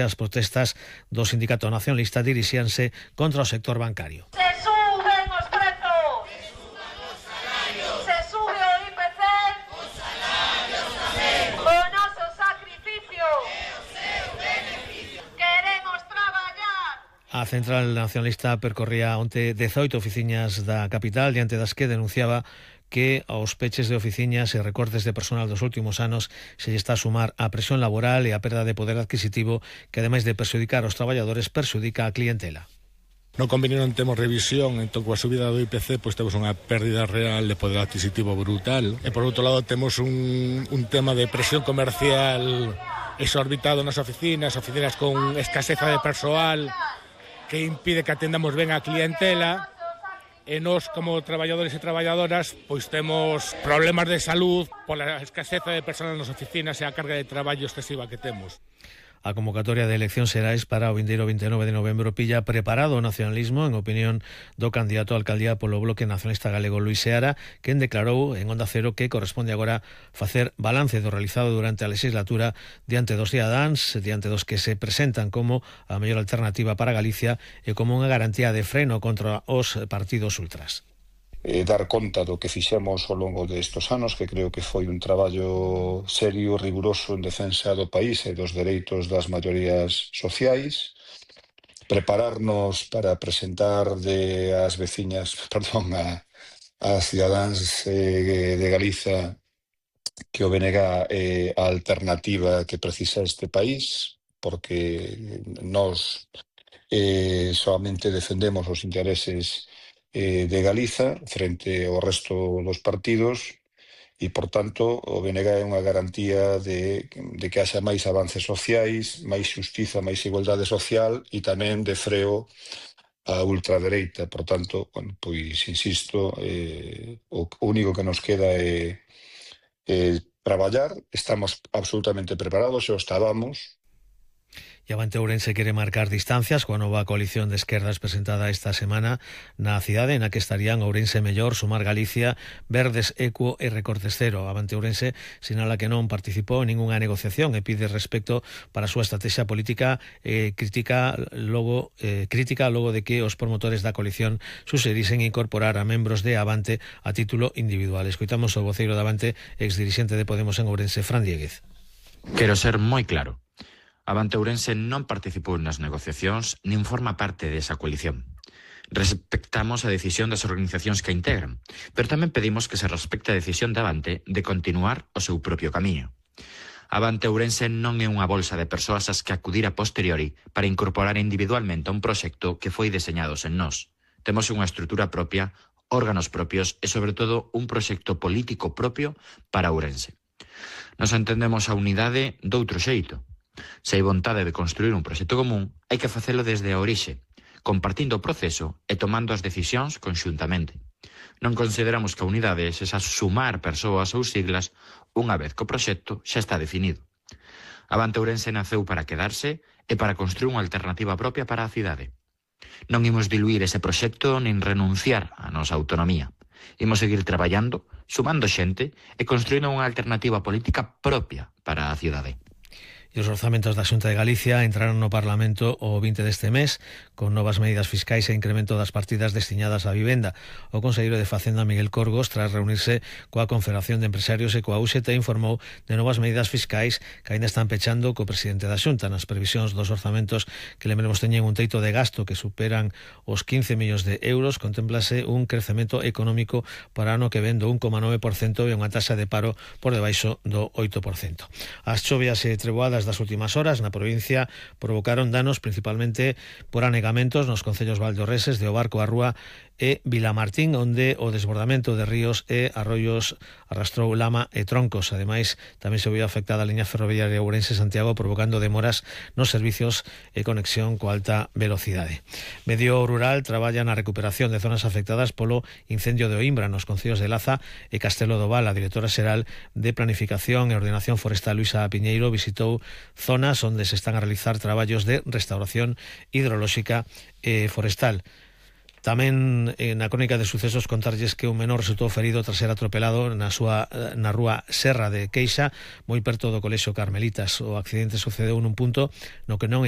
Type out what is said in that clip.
As protestas do sindicato nacionalista dirixíanse contra o sector bancario. Se suben os prezos, se sube o IPC, os salarios tamén, o noso sacrificio, queremos traballar. A Central Nacionalista percorría onte 18 oficinas da capital, diante das que denunciaba que aos peches de oficinas e recortes de personal dos últimos anos se lle está a sumar a presión laboral e a perda de poder adquisitivo que, ademais de perxudicar aos traballadores, perxudica a clientela. No convenio non temos revisión, entón coa subida do IPC pois temos unha pérdida real de poder adquisitivo brutal e por outro lado temos un tema de presión comercial exorbitado nas oficinas con escaseza de persoal que impide que atendamos ben a clientela. E nós, como traballadores e traballadoras, pois temos problemas de salud pola escaseza de persoas nas oficinas e a carga de traballo excesiva que temos. A convocatoria de eleccións xerais para o vindeiro 29 de novembro pilla preparado o nacionalismo, en opinión do candidato a alcaldía polo Bloque Nacionalista Galego Luís Seara, quen declarou en Onda Cero que corresponde agora facer balance do realizado durante a legislatura diante dos cidadáns, diante dos que se presentan como a mellor alternativa para Galicia e como unha garantía de freno contra os partidos ultras. Dar conta do que fixemos ao longo destes anos, que creo que foi un traballo serio, riguroso en defensa do país e dos dereitos das maiorías sociais, prepararnos para presentar ás cidadáns de Galiza que o BNG é a alternativa que precisa este país, porque nós solamente defendemos os intereses de Galiza frente ao resto dos partidos e, por tanto, o BNG é unha garantía de que haxa máis avances sociais, máis xustiza, máis igualdade social e tamén de freo a ultradereita. Por tanto, pois insisto, o único que nos queda é traballar. Estamos absolutamente preparados, xa o estábamos. E Avante Ourense quere marcar distancias coa nova coalición de esquerdas presentada esta semana na cidade na que estarían Ourense Mellor, Sumar Galicia, Verdes, Equo e Recortes Cero. Avante Ourense sinala que non participou en ningunha negociación e pide respecto para a súa estrategia política crítica logo de que os promotores da coalición suxerisen incorporar a membros de Avante a título individual. Escoitamos o voceiro de Avante, exdirixente de Podemos en Ourense, Fran Dieguez. Quero ser moi claro. Avante Ourense non participou nas negociacións nin forma parte desa coalición. Respectamos a decisión das organizacións que a integran, pero tamén pedimos que se respecte a decisión de Avante de continuar o seu propio camiño. Avante Ourense non é unha bolsa de persoas ás que acudir a posteriori para incorporar individualmente a un proxecto que foi deseñado sen nós. Temos unha estrutura propia, órganos propios e, sobre todo, un proxecto político propio para Ourense. Nos entendemos a unidade doutro xeito. Se hai vontade de construir un proxecto común, hai que facelo desde a orixe, compartindo o proceso e tomando as decisións conxuntamente. Non consideramos que a unidade sexa sumar persoas ou siglas unha vez que o proxecto xa está definido. Avante Ourense naceu para quedarse e para construir unha alternativa propia para a cidade. Non imos diluir ese proxecto nin renunciar á nosa autonomía. Imos seguir traballando, sumando xente e construindo unha alternativa política propia para a cidade. E os orzamentos da Xunta de Galicia entraron no Parlamento o 20 deste mes con novas medidas fiscais e incremento das partidas destinadas á vivenda. O conselleiro de Facenda, Miguel Corgos, tras reunirse coa Confederación de Empresarios e coa UGT, informou de novas medidas fiscais que aínda están pechando co presidente da Xunta. Nas previsións dos orzamentos, que lembremos teñen un teito de gasto que superan os 15 millóns de euros, contémplase un crecemento económico para ano que ven do 1,9% e unha taxa de paro por debaixo do 8%. As chovias e treboadas das últimas horas na provincia provocaron danos principalmente por anegamentos nos concellos valdorreses de Obarco, a Rúa e Vilamartín, onde o desbordamento de ríos e arroios arrastrou lama e troncos. Ademais, tamén se viu afectada a liña ferroviaria Ourense-Santiago, provocando demoras nos servicios e conexión coa alta velocidade. Medio Rural traballa na recuperación de zonas afectadas polo incendio de Oimbra nos concellos de Laza e Castelo do Val. A directora xeral de Planificación e Ordenación Forestal, Luisa Piñeiro, visitou zonas onde se están a realizar traballos de restauración hidrolóxica e forestal. Tamén na crónica de sucesos contarlles que un menor resultou ferido tras ser atropelado na rúa Serra de Queixa, moi perto do Colexio Carmelitas. O accidente sucedeu nun punto no que non